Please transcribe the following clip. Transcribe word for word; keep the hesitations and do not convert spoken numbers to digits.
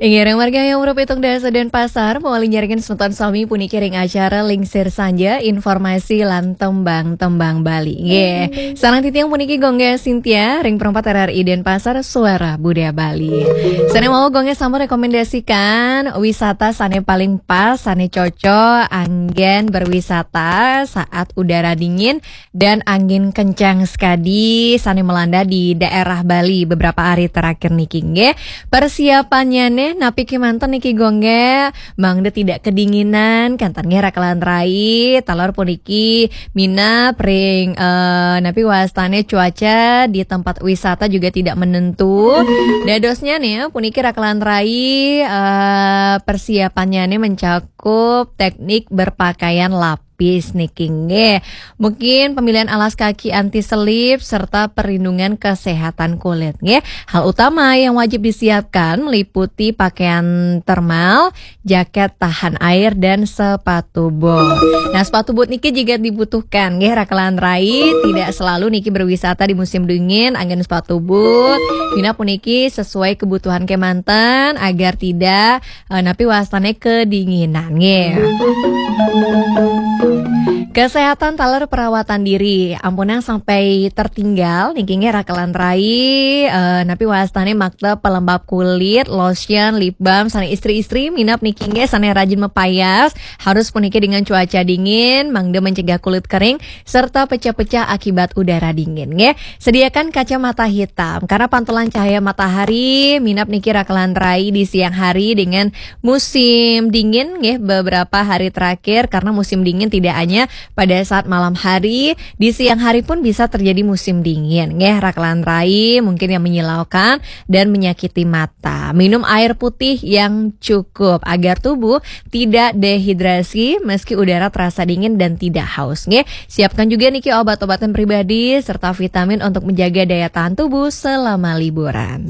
Inggih, ring wargi yang berpitung dasa Denpasar, mawali nyarengin semeton sami puniki ring acara Lingsir Sanja, informasi lan tembang-tembang Bali. Nggih, sareng titiang puniki Gung Gé Sintia, ring perempat R R I Denpasar, Suara Budaya Bali. Sané mawon Gung Gé sampun rekomendasikan wisata sané paling pas, sané cocok anggén berwisata saat udara dingin dan angin kencang sekadi sané melanda di daerah Bali beberapa hari terakhir niki, nggih. Persiapannyané napi kémanten niki, Gung Gé? Mangda tidak kedinginan, kénten nggih rakelan rai, taler puniki minab ring, eh, napi wastané cuaca di tempat wisata juga tidak menentu. Dadosnyané puniki rakelan rai, eh, persiapannyané mencakup teknik berpakaian lapis niki, nggih. Mungkin pemilihan alas kaki anti selip serta perlindungan kesehatan kulit, nggih. Hal utama yang wajib disiapkan meliputi pakaian thermal, jaket tahan air, dan sepatu boot. Nah, sepatu boot niki juga dibutuhkan, nggih, rakelan rai. Tidak selalu niki berwisata di musim dingin anggén sepatu boot. Minab puniki sesuai kebutuhan kémanten agar tidak, eh, napi wastané kedinginan, nggih. Kesehatan taler perawatan diri, ampunang sampai tertinggal niki, nggih, rakelan rai, eh, napi wastané makta pelembab kulit, lotion, lip balm, sané istri-istri minab niki, nggih, sané rajin mapayas, harus puniki dengan cuaca dingin, mangda mencegah kulit kering serta pecah-pecah akibat udara dingin, nggih. Sediakan kacamata hitam karena pantulan cahaya matahari, minab niki rakelan rai di siang hari dengan musim dingin, nggih, beberapa hari terakhir, karena musim dingin tidak hanya pada saat malam hari, di siang hari pun bisa terjadi musim dingin, nggih, rakelan rai, mungkin yang menyilaukan dan menyakiti mata. Minum air putih yang cukup agar tubuh tidak dehidrasi meski udara terasa dingin dan tidak haus, nggih. Siapkan juga niki obat-obatan pribadi serta vitamin untuk menjaga daya tahan tubuh selama liburan.